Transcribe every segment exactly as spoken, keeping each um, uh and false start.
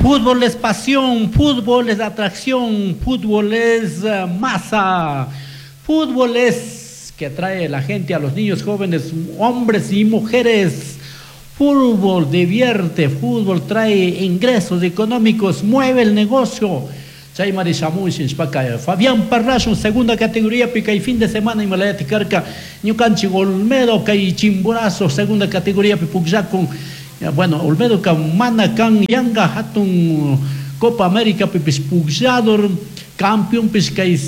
Fútbol es pasión, fútbol es atracción, fútbol es eh, masa, fútbol es que atrae a la gente, a los niños jóvenes, hombres y mujeres. Fútbol divierte, fútbol trae ingresos económicos, mueve el negocio. Chaymari shamushun shpaka Fabián Parracho, segunda categoría, pica y fin de semana y Malayati Carca, ñukanchik Olmedo, kay Chimborazo, segunda categoría, pipukllakun. Bueno, Olmedo ka mana kan yanga hatun Copa América pipis pukllador, campeón pis kay,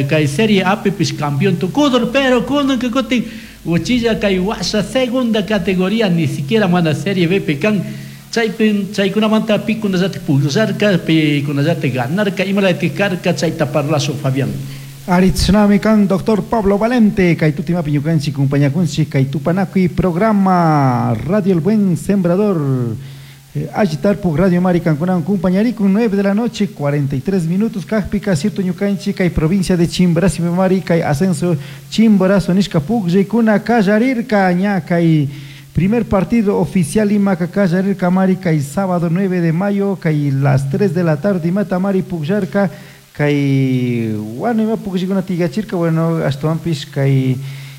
kay Serie A pipis campeón tukudur, pero kunan que kutin uchilla kay washa segunda categoría, ni siquiera mana Serie B pican. Chaypin chaykunamanta pikunallata pukllarka, pikunallata ganarka, imalati karka chayta parlazo Fabián. Aritznami kan doctor Pablo Valente, kay tutimapi ñukanchik kumpañakunchik kay Tupanakuy programa Radio El Buen Sembrador. Eh, Agitarpuk Radio Mari kankunan kumpañarikun nueve de la noche cuarenta y tres minutos kajpika cierto ñukanchik kay provincia de Chimborazo Mari kay ascenso Chimborazo nishka pukllaykuna kallarirka ña kay primer partido oficial imaka kallarirka mari kay sábado nueve de mayo kay las tres de la tarde imata mari pukllarka kay bueno ima pukllaykuna tigachirka bueno ashtawanpish kay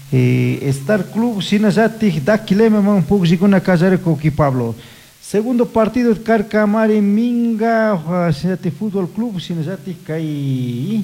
eh, Star Club shinallatik Daquilema man pukllaykuna kallarirka uki Pablo. Segundo partido karka mari Minga shinallatik Fútbol Club shinallatik kay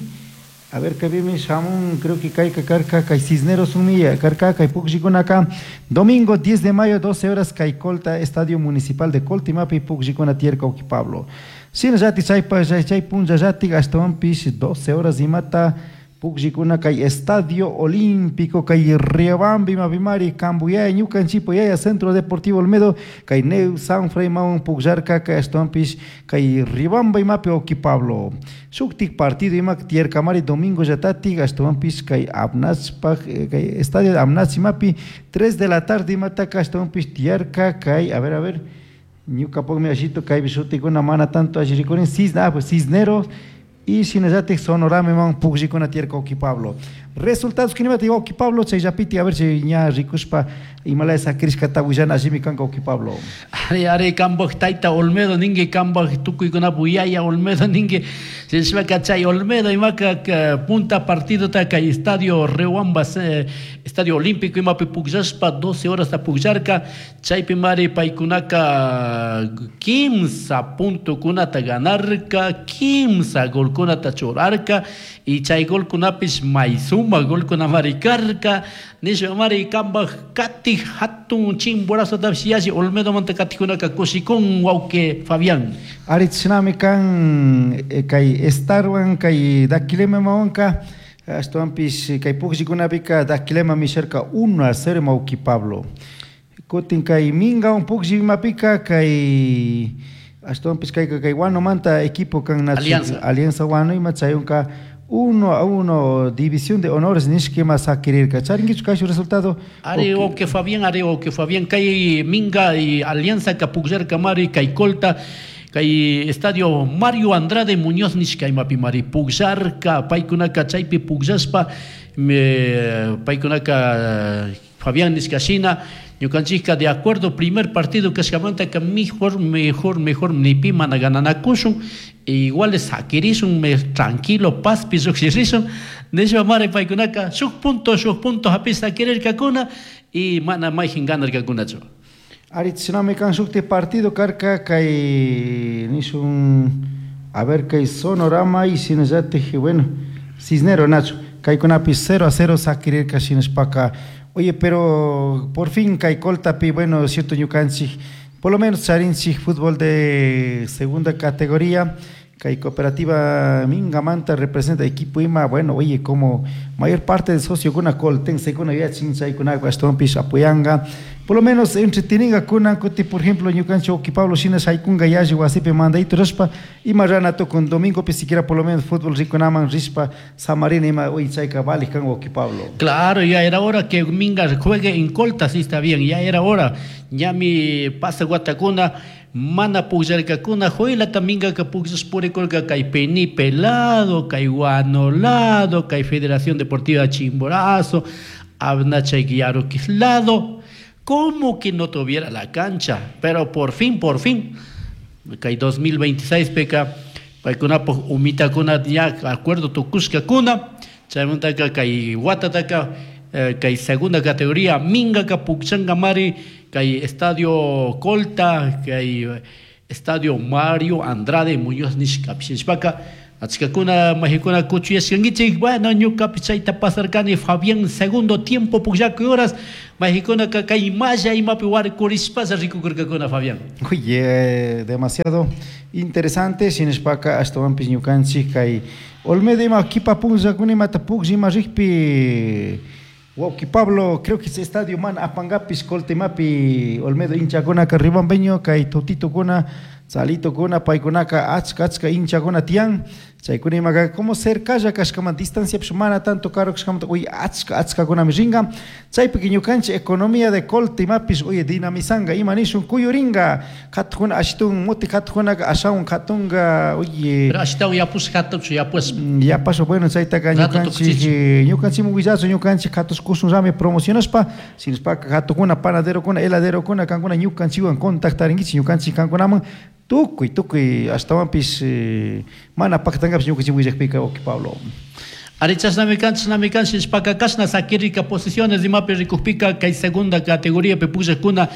a ver que viene shamun creo que kay karka kay Cisneros umilla karka kay pukllaykunaka domingo diez de mayo doce horas kay Colta Estadio Municipal de Coltimapi pukllaykuna tiyarka uki Pablo. Shinallatik chaypa chay punllallatik ashtawanpish doce horas imata pukllaykuna kay Estadio Olímpico kay Riobamba imapimari Cambuyay ñukanchipo yaya Centro Deportivo Olmedo kay Neu Sanfrey maun pukllarka kay ashtawanpish kay Riobamba imapi uki Pablo. Shuktik partido imak tiyarkamari domingo llatatik ashtawanpish kay Abnachpak kay Estadio Abnach imapi tres de la tarde imataka ashtawanpish tiyarka kay a ver a ver ñukapukmi ashito kaypi shutikuna mana tanto allirikurin Cisna, ah, pues Cisneros y shinallatik Sonorama man pukllaykuna tiyarka uki Pablo. Resultados kinimata uki Pablo chayllapiti a ver si ña rikushpa imalaya sakirishkata willana allimi kanka uki Pablo. Ari ari kambaj tayta Olmedo ninki kambaj tukuykunapu yaya Olmedo ninki sishpaka chay Olmedo imaka punta partido ta kay Estadio Riobamba eh, Estadio Olímpico imapi pukllashpa doce horas ta pukllarka chaypi mari paykunaka kimsa puntokunata ganarka kimsa golkunata churarka y chay golkunapish may suma golkuna mari karka nishpa mari kambaj kati hatun Chimborazo tapish yalli Olmedo manta katikunaka kushikun wawqi Fabián. Aritznami kan eh, kay Starwan kay Daquilema mawanka ashtawanpish kay pukllaykunapika Daquilema misharka uno a cero mawki Pablo. Kutin kay Minga un pukllimapika kay ashtawanpish kay kay Huanomanta equipo kan Alianza. Alianza Huano ima chayunka uno a uno división de honores nishkima sakirirka. Charinkichu kashu resultado. Ari o que Fabián, ari o que Fabián kay Minga y Alianza kapukllarka mari kay Colta kay Estadio Mario Andrade Muñoz nishka imapi mari pukllarka paykunaka chaypi pukllashpa me paykunaka Fabián nishka shina ñukanchikka de acuerdo primer partido kashkamanta ka mejor mejor mejor nipi mana gananakushun igual sakirishun me tranquilo pazpi lluqshirishun nishpa mari paykunaka shuk punto shuk punto hapish sakirirkakuna y mana mayjin ganarkakunachu. Aritznami kan shukti partido karka kay nishun a ver kay Sonorama y shinallatik bueno Cisnero Nacho kaykunapi cero a cero sakirirka shinashpaka. Oye, pero por fin kay Coltapi, bueno, cierto ñukanchik, por lo menos charinchik fútbol de segunda categoría, kay Cooperativa Mingamanta representa equipo ima, bueno, oye, como mayor parte del socio kuna coltense kuna yachin chaykuna ashtawanpish apoyanga, por lo menos entreteninga kuna kuti, por ejemplo, ñukanchik uki Pablo shina shaykunga yalli wasipi mandaytu rashpa, ima ranato con domingo pi siquiera por lo menos fútbol rikunaman rishpa samarina ima, oye, chayka vale kan uki Pablo. Claro, ya era hora que Minga juegue en Colta, sí está bien, ya era hora. Ya mi pasa guatacuna mana pukllarkakuna joylata Mingaka pukllash purikurka kay Penipe lado, kay Huano lado, kay Federación Deportiva Chimborazo, Abnachay Yaruquis lado, como que no tuviera la cancha, pero por fin, por fin, Kay dos mil veintiséis peka paykunapaq umitakuna ña acuerdo tukushkakuna chaymantaka kay watataka kay segunda categoría Mingaka pukchankamari kay Estadio Colta kay Estadio Mario Andrade Muñoz nishkapi shinashpaka achkakuna mahikuna kuchuyashkankichik. Bueno, ñukapi chayta pasarkani Fabián segundo tiempo pukllakuy horas mahikunaka kay malla imapi warkurishpasha rikukurkakuna Fabián. Oye, demasiado interesante shinashpaka ashtawanpish ñukanchik kay Olmedo ima kipa punllakuna imata puklla ima rikpi Wauki Pablo, creo que ese estadio man apangapis Coltemapi Olmedo hinchakunaka Ribambeño kay Totitokuna Tzalitokuna paykunaka achka achka hinchakuna tiyan chaykuna imaka como cercalla kashkaman distancia pish mana tanto caro kashkamanta uy achka achkakunami ringa chaypika ñukanchik economía de Coltemapish uy dinamizanga ima nishun kuyuringa katukuna ashitun muti katukunaka ashawan katunga uy pero ashitawan yapush katuchu yapush yapasho bueno chaytaka ñukanchik ñukanchikmi willachu ñukanchik katushkushunrami promocionashpa shinashpaka katukuna panaderokuna heladerokuna kankuna ñukanchikwan contactarinkichik ñukanchik kankunaman tukuy tukuy ashtawanpish mana paktankapish ñukanchik willakpika wauki Pablo. Ari chashnami kan chashnami kan shinashpaka kashna sakirika posiciones imapi rikukpika kay segunda categoría pi pukllakuna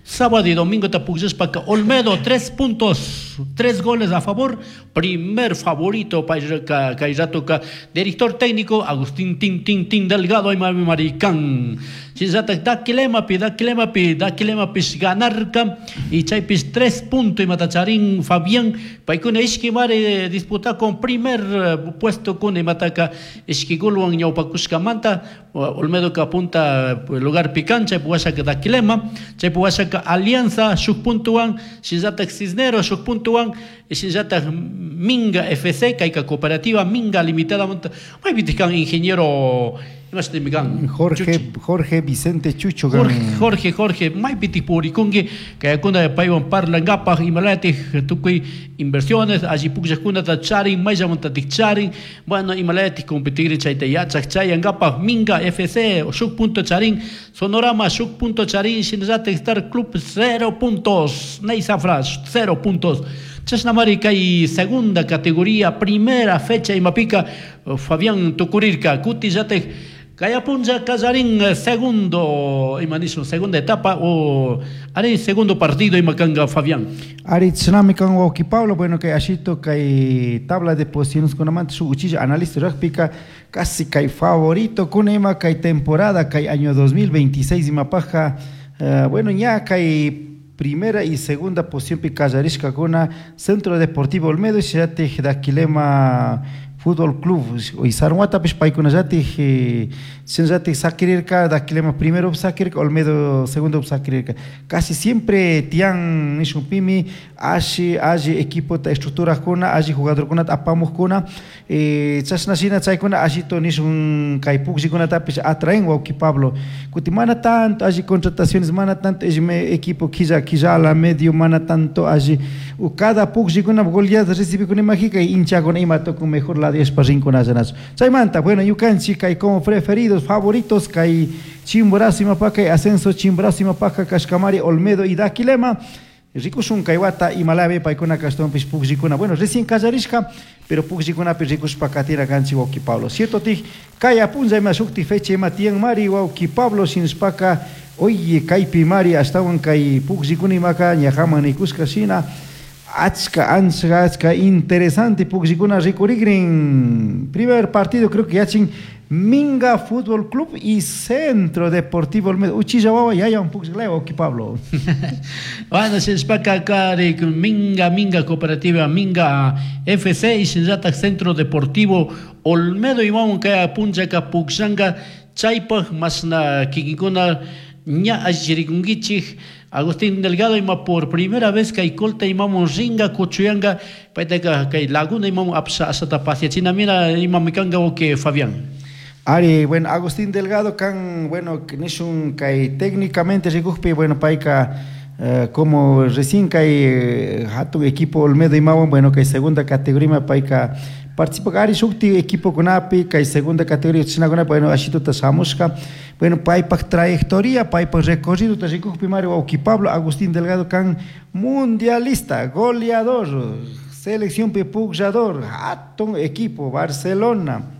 sábado y domingo ta pukllashpaka Olmedo tres puntos, tres goles a favor, primer favorito kay ratoka director técnico Agustín Tin Tin Tin Delgado y Mami Maricán. Shinllatak Daquilemapi Daquilemapi Daquilemapish ganarka y chaypish tres puntos y matacharín Fabián paykuna ishki mari disputa con primer puesto kuna imataka ishki golwan ñawpakushkamanta Olmedo ka apunta lugar pican chaypi washaka Daquilema chaypi washaka Alianza shuk puntuwan shinllatak Cisneros shuk puntuwan shinllatak Minga F C kayka cooperativa Minga Limitada maypitik kan ingeniero Jorge Jorge Vicente Chucho Jorge Jorge Jorge maypitik purikunki kaykuna paywan parlankapaq imalayatik tukuy inversiones alli pukllaqkunata charin mayllamantatik charin bueno imalayatik competir chayta yachaq chayankapaq Minga F C shuk punto charin Sonorama shuk punto charin shinallatik Star Club cero puntos Neysa Flash cero puntos. Chashnamari kay segunda categoría primera fecha imapika Fabián tukurirka kutillatik Kayapunja Kazarín segundo imanishun segunda etapa o ari segundo partido imakanga Fabián. Ari tsunami kan wauki Pablo bueno kay ashito kay tabla de posiciones kunamanta shuk uchilla analista rugbyka casi kay favorito kuna ima kay temporada kay año dos mil veintiséis imapaja uh, bueno ña kay primera y segunda posición pi kallarishkakuna Centro Deportivo Olmedo y shatik Daquilema Fútbol Club y Sarwatapish paykunallatik shinallatik sakirirka Daquilema primero sakirirka Olmedo segundo sakirirka casi siempre tiyan nishunpimi alli alli equipota estructurakuna alli jugadorkunata apamuqkuna chashna shina chaykuna allito nishun kay pukllkunatapish atraen wauki Pablo kuti mana tanto alli contrataciones mana tanto equipo quilla quillala medio mana tanto alli cada pukllkuna goleada recibikuna imajika hinchakuna ima tukun mejor la rinkunallanachu chaymanta bueno ñukanchik kay como preferidos favoritos kay Chimborazo imapaka ascenso Chimborazo imapaka kashkamari Olmedo y Daquilema rikushun kay wata imalabe paykuna kashtawanpish pukllikuna bueno recién kallarishka pero pukllikunapi rikushpa katira kanchik wauki Pablo cierto tik kay apunlla ima shukti fecha ima tiyan mari wauki Pablo shinashpaka oye kaypi mari ashtawan kay pukllikuna imaka ñajaman nikushka shina achka ancha achka interesante pukllikuna rikurikrin primer partido creo que yachin Minga Fútbol Club y Centro Deportivo Olmedo uchilla wawa yaya un puklliklaya wauki Pablo. Bueno shinashpaka kari Minga Minga Cooperativa Minga F C y shinallatak Centro Deportivo Olmedo imawan kay punllaka pukllanka chaypaq masna kikinkuna ña allirikunkichik Agustín Delgado ima por primera vez kay Colta imamun ringa kuchuyanga paytaka kay Laguna imamun apsa asata pasiachina mira imamikanga wauki Fabián. Ari, bueno, Agustín Delgado kan, bueno, nishun kay técnicamente rikukpi, bueno, payka eh, como recién kay hatun equipo Olmedo imawan, bueno, kay segunda categoría payka participa ari shukti equipo kunapi kay segunda categoría chinakunapi, bueno, ashituta shamushka, bueno, paypak trayectoria, paypak recorrido ta rikukpi mari wawki Pablo Agustín Delgado kan mundialista, goleador, selección pi pukllador, hatun equipo Barcelona,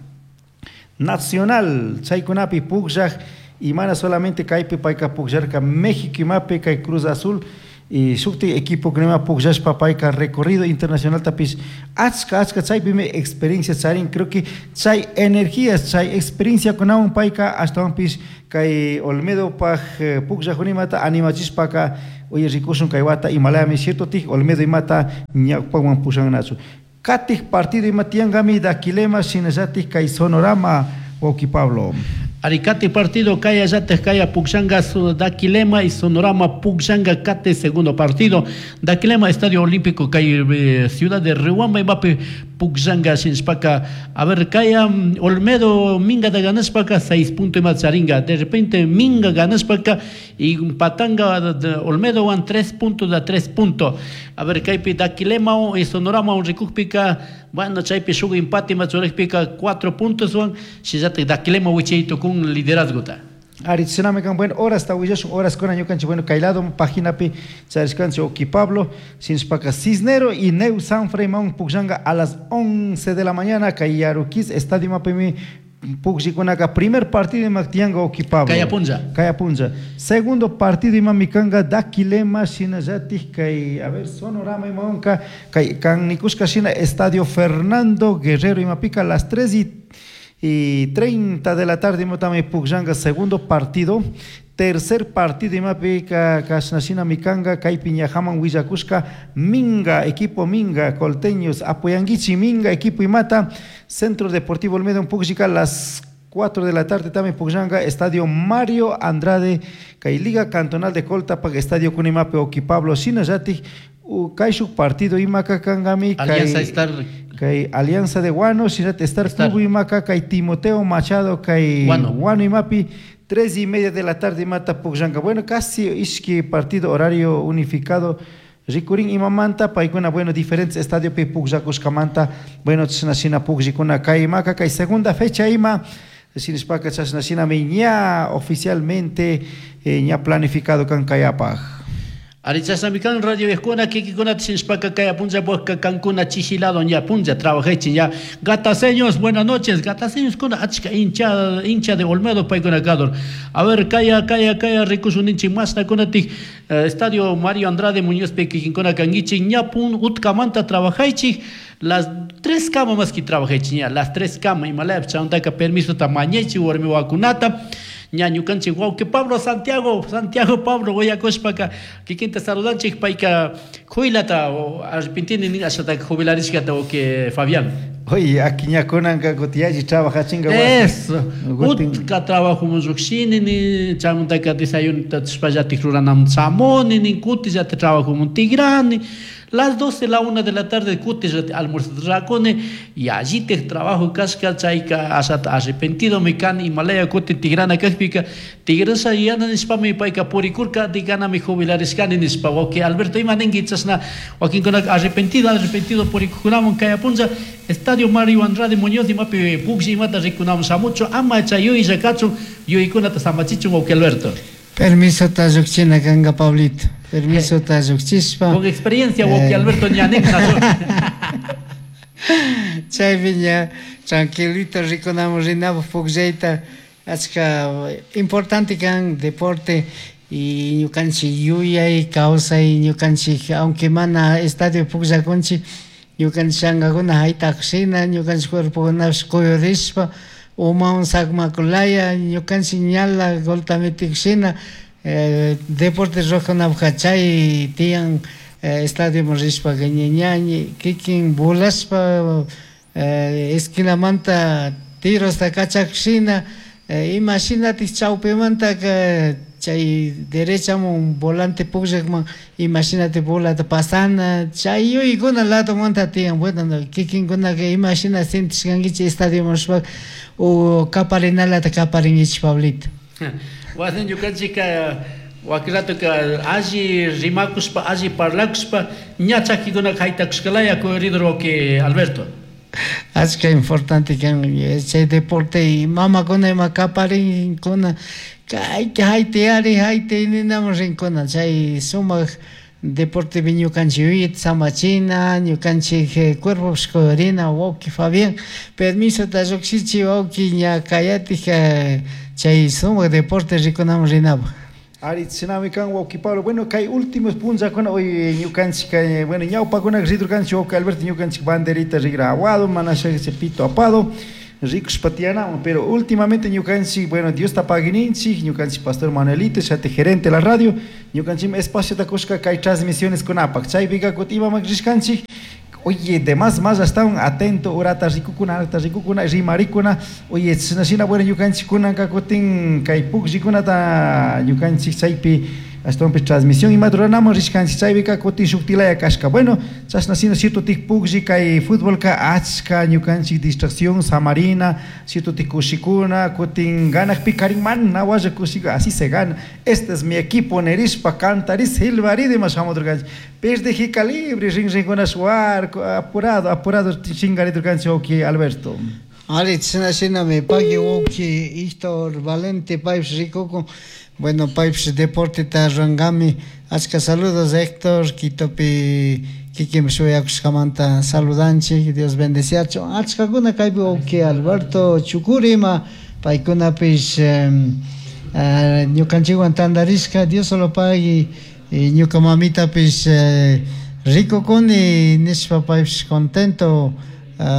Nacional, chaykunapi pukllaj y mana solamente kaypi payka pukllarka México imapi kay Cruz Azul y shukti equipo kunima pukllashpa payka recorrido internacional tapish achka achka chaypimi experiencia charin, creo que chay energías, chay experiencia kunawan payka ashtawanpish kay Olmedo paj pukllajunimata animachishpaka oye rikushun kay wata imalayami cierto tij Olmedo imata ñawpawan pushannachu. Katik partido ima tiangami Daquilema shinallatik kay Sonorama wawki Pablo. Aricate partido kaya yates kaya Pukllanga Daquilema y Sonorama Pukllanga Kate segundo partido Daquilema Estadio Olímpico kay eh, Ciudad de Riobamba imapi Pukllanga shinshpaka a ver kaya Olmedo Minga da ganashpaka seis puntos ima charinga de repente Minga ganashpaka y Patanga de Olmedo wan tres puntos da tres puntos a ver kaypi Daquilema y Sonorama un rikukpika bueno chaypi shuk empate ima churikpika cuatro puntos wan shillati Daquilema wichayto con liderazgo ta. Ari tsunami kan bueno horas ta willashun horas kuna ñukanchik bueno kay lado página pi charishkanchik Oki Pablo shinshpaka Cisnero y Neu Sanfrey maun pukllanga a las once de la mañana kay Yaruquis estadio mapimi pukllikunaqa primer partido ima tiyanka Oki Pablo. Kayapunlla. Kayapunlla. Segundo partido ima mikanga Daquilema shinallatik kay a ver Sonorama imawanka kay kan nikushka shina Estadio Fernando Guerrero imapika a las tres y y treinta de la tarde imotami pukllanga segundo partido. Tercer partido imapika kashnashina mikanga kaypi ñajaman willakushka Minga equipo Minga Colteños apoyanguichi Minga equipo imata Centro Deportivo Olmedo pukllika las cuatro de la tarde también pukllanga Estadio Mario Andrade kay Liga Cantonal de Coltapac Estadio Kunimapi Oki Pablo shinallatik kayshuk partido imaka kangami kay Alianza Star kay Alianza de Guano shinat Star Club imaka kay Timoteo Machado kay Guano. Guano imapi tres y media de la tarde mata pukllanga. Bueno, casi ishki partido horario unificado rikurin imamanta paykuna bueno diferentes estadio pi pukllakushkamanta bueno chashnashina pukllikuna kay imaka kay segunda fecha ima shinashpaka chashnashinami ña oficialmente eh, ña planificado kan kayapaj. Arichasamikan radio escuela kikikuna shinshpaka kaya punlla bosca cancuna chichilado ña punlla trabajechi ya gataseños buenas noches gataseños kuna achka hincha hincha de Olmedo paykuna kador a ver kaya kaya kaya rikusuninchi masna kuna tik eh, Estadio Mario Andrade Muñoz pe kikinkuna kangichi ña pun utkamanta trabajaichi las tres camas más que trabajaichi ña las tres camas imalaya chantaka permiso tamañechi warmi wakunata ña ñukanchik wawqi Pablo Santiago Santiago Pablo willakushpaka kikinta saludanchik payka juylata arrepentini nin ashataka jubilarishkata wawqi Fabián. Oye, aquí ñakunanka kutiyalli trabajachinga wasi. Eso, utka trabajo lluqshini ni chaymantaka desayunota tushpallatik ruranam chamuni nin kutillata trabajo tigrani las doce, la una de la tarde kuti almuerzo y allí te trabajo casca chayka asata arrepentido me can Himalaya kuti tigrana kakpika tigrasa yana nispa mi payka purikurka digana mi jubilarishkani nispa wawqi Alberto ima ninki chashna wakinkunaka arrepentido arrepentido purikunamun kayapunlla Estadio Mario Andrade Muñoz imapi puklli imata rikunamun shamuchu ama chay yuyilla kachun yuykunata samachichun wawqi Alberto. Permiso ta lluqchina kanka Pablito. Permiso ta lluqchishpa. Con experiencia wawqi eh. Alberto ñanik Chaypi ña tranquilito rikunamun rinapuk pukllayta achka importante kan deporte y ñukanchik yuyay kawsay ñukanchik aunque mana estadio pukllakunchik ñukanchik shankakuna haytakushina ñukanchik cuerpokunapish kuyurishpa umawan sakmakulaya ñukanchik ñala golta metikushina eh, deporte rurakunapukka chay tiyan eh, estadioman rishpaka ña ñañi kikin volashpa eh, esquinamanta tirosta kachakushina eh, imashinatik chawpimantaka chay derechaman volante pukllakman imashinati bolata pasana chay yuyaykuna ladomanta tiyan bueno kikinkunaka imashina sentishkankichik estadioman rishpaka o kaparinalata kaparinkichik Pablito. Wasin ñukanchika Wakiratuka alli rimakushpa alli parlakushpa ña chakikuna haytakushkalaya corredor wawki Alberto. Achka importante kan chay deporte y mamakuna ima kaparinkuna kayka haytayari haytay ninaman rinkuna chay sumak deporte ñukanchik yuyayta samachina ñukanchik cuerpopish kuyurina wawki Fabián permisota llukshichi wawki ña kayatik chay sumak deporte rikunaman rinapuk. Ari chinami kan wawki Pablo. Bueno, kay últimos punllakuna hoy ñukanchik bueno ñawpakuna ridurkanchik wawki Alberto ñukanchik banderita rigra aguado mana pito apado rikushpa tiyanawan, pero últimamente ñukanchik bueno Diosta paguininchik ñukanchik pastor Manuelito chayta gerente de la radio ñukanchik espaciota kushka kay transmisiones kunapak chaypika kutin imaman rishkanchik. Oye, de más más hasta un atento urata rikukuna arta rikukuna rimarikuna. Oye, china bueno ñukanchik kunanka kutin kay pukllkunata ñukanchik chaypi ashtawanpish transmisión imata ruranamon rishkanchik chaypika kutin shuktilaya kashka. Bueno, chashna sino cierto tik puklli kay futbolka achka ñukanchik distracción samarina cierto tik kushikuna kutin ganakpi karin mana walla kushika así se gana. Este es mi equipo nerishpa cantaris silbarida ima shamudurkanchik. Perdejika calibre rin rinkuna shuarco apurado apurado chingaridurkanchik wawki Alberto. Ari chashna shinami pagui wawki Héctor Valente paypish rikukun. Bueno, paypish deporteta rurangami. Achka saludos Héctor, Quitopi kikinpish shuyakushkamanta saludanchik, Dios bendeciachun. Achkakuna kaypi wawki Alberto Chucuri ima paykunapish ñukanchikwan tantarishka, Dios solo pagui ñuka mamitapish rikukuni nishpa paypish contento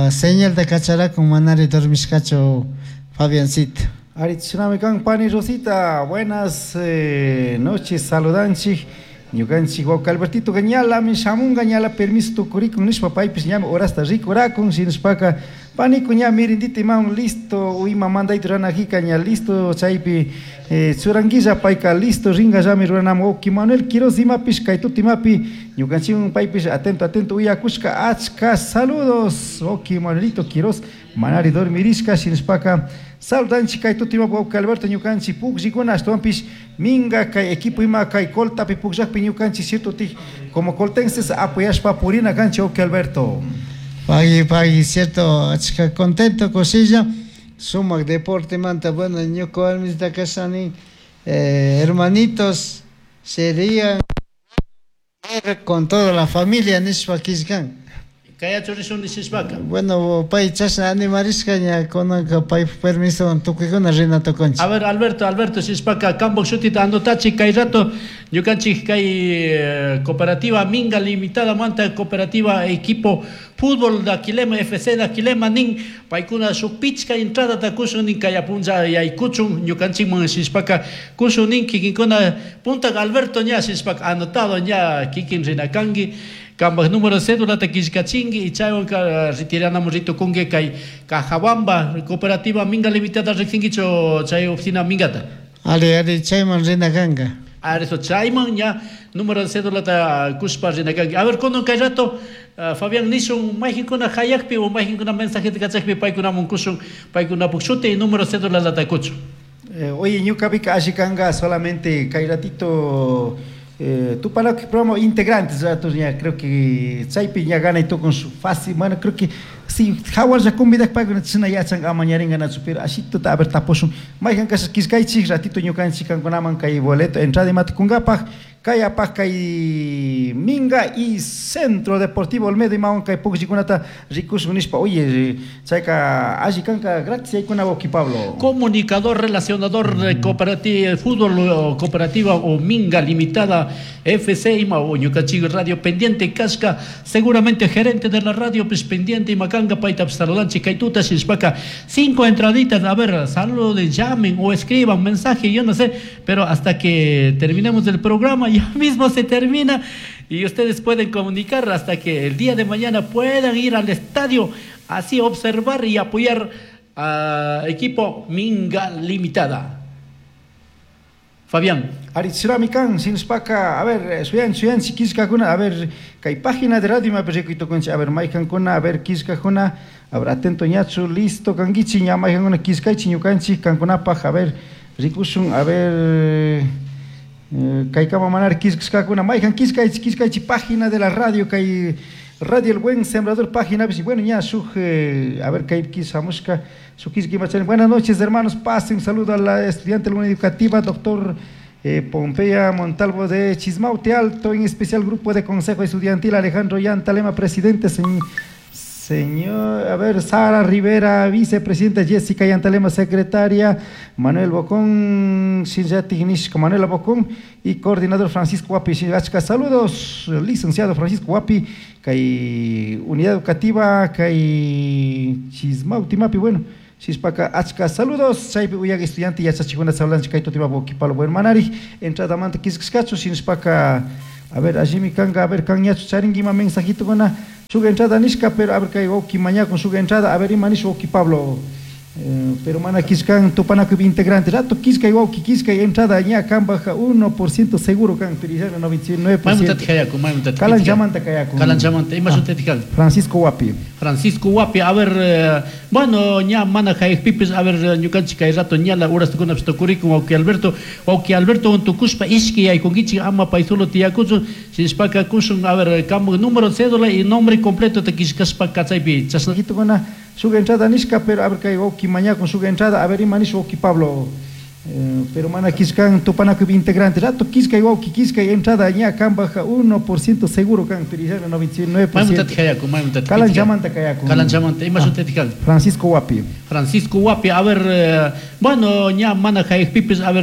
señalta kacharakun manari dormishkachu Fabiancito. Ari chinami kan pani Rosita, buenas eh, noches, saludanchik ñukanchik wawki Albertito ñalami shamunga ñala permiso tukurikun nishpa paypish ñami horasta rikurakun shinashpaka paniku ña mirindita imawan listo ima mandayta ruranajika ña listo chaypi eh, churanguilla payka listo ringallami ruranamun wawki Manuel Quiroz imapish kay tuta imapi ñukanchikwan paypish atento atento uyakushka achka saludos wawki Manuelito Quiroz manari dormirishka shinashpaka saludanchik kay tuta imapi wawki Alberto ñukanchik pukllikuna ashtawanpish minga kay equipo ima kay coltapi pukllakpi ñukanchik cierto tik como coltenses apoyashpa purina kanchik wawki Alberto. Pagui, pagui, cierto, achka contento kushilla sumak deporte manta bueno ñuka warmita kashani eh, hermanitos serían con toda la familia nishpa killkan. Kaya churishun nishpaka. Bueno, pay chashna animarishka ña kunanka pay permiso tukuykuna rina tukunchik. A ver, Alberto, Alberto, shishpaka kambuk shutita anotachi kay rato ñukanchik kay cooperativa Minga Limitada manta cooperativa equipo fútbol de Aquilema F C de Aquilema nin paykuna shuk pichka entrada ta kushun nin kay apunlla yaykuchun ñukanchikman shishpaka kushun nin kikinkuna punta Alberto ña shishpaka anotado ña kikin rinakanki. Kambaj número cédula ta killkachinki y chaywanka retiranamo ritukunki kay Cajabamba cooperativa Minga Limitada riqsinkichu chay oficina Mingata. Ali, ali, chayman rina kanka. A ver, eso, chayman ña número de cédula ta kushpa rina kanki. A ver, kunan kay rato uh, Fabián nishun mayqinkuna hayakpi o mayqinkuna mensajeta kachakpi paykunamun kushun paykunapuk shuti y número cédula lata kuchun. Eh, oye, ñukapika alli kanka solamente kay ratito Eh, Tupanacuy programa integrantes, ya creo que chaypi ña ganay tukun su fácil, bueno, creo que si jawar ya convidak paykuna china yachan amañaringanachu, pero ashituta a ver tapushun mayjan kasha killkaychik ratito ñukanchik kankunaman kay boleto entrada imata kunkapaj kay apaj kay Minga y Centro Deportivo Olmedo imawan kay pukllkunata rikushun nishpa. Oye, chayka alli kanka gratis yaykuna wawki Pablo. Comunicador relacionador de cooperativa, fútbol cooperativa o Minga Limitada F C ima o ñukanchik radio pendiente kashka seguramente gerente de la radio pues pendiente imacanga payta saludanchik kay tuta shishpaka cinco entraditas, a ver, saluden, llamen o escriban mensaje, yo no sé, pero hasta que terminemos el programa ya mismo se termina y ustedes pueden comunicar hasta que el día de mañana puedan ir al estadio así observar y apoyar a equipo Minga Limitada. Fabián. Aritzuramikan, sinspaka, a ver, suyan, suyan, si killkakuna, a ver, kay página de radio imapi rikuytukunchik, a ver, maykankuna, a ver, killkakuna, a ver, atento ñachu, listo, kankichik, ña maykankuna killkaychik ñukanchik, kankunapaj, a ver, rikushun, a ver, Kaykama manar killkashkakuna mayjan killkaychik killkaychik página de la radio kay Radio El Buen Sembrador página bueno ña shuk eh, a ver kay kishamushka shuk killka buenas noches hermanos pasen un saludo a la estudiante de la unidad educativa doctor eh, Pompeya Montalvo de Chismaute Alto, en especial grupo de consejo estudiantil Alejandro Yantalema, presidente, señor, señor, a ver, Sara Rivera, vicepresidenta, Jessica Yantalema, secretaria, Manuel Bocón, Manuela Bocón y coordinador Francisco Guapi. Saludos, licenciado Francisco Guapi, kay unidad educativa, kay Chismaute Mapi, bueno. Shispaka achka saludos. Chaypi uyaga estudiante yachachikuna sablanchik kay tutimapi wawqi Pablo Manari entrada manta killkashkachu shinashpaka a ver allimi kanga a ver kan ñachu charinki ima mensajito kuna shuk entrada nishka pero a ver kay wawqi mañakun shuk entrada a ver ima nish wawqi Pablo. Eh, pero mana killkan tupanakuy integrante rato killkay wawqi killkay entrada ña kanpaj uno por ciento seguro kan pero noventa y nueve por ciento. Calanchamanta kayakun. Calanchamanta ima shutiti kan. Francisco Guapi. Francisco Guapi, a ver, eh, bueno, ña mana pipis, a ver, ñukanchik kay rato ñala horas tukunapish tukurikun wawqi Alberto, wawqi Alberto tukushpa ishki yaykunkichik ama pay solo tiyakuchun, shinashpaka kushun, a ver, kamu número cédula y nombre completo te killkashpa kachaypi chashna. Shuk entrada nishka pero a ver kay wawqi mañakun shuk entrada a ver ima nish wawqi Pablo. Eh, pero mana killkan tupanakuy integrante rato killkay wawqi killkay entrada ña kanpaj uno por ciento seguro kan pero noventa y nueve por ciento. Calanchamanta kayakun. Calanchamanta ima shutiti kan. Francisco Guapi. Francisco Guapi, a ver, eh, bueno, ña mana pipis, a ver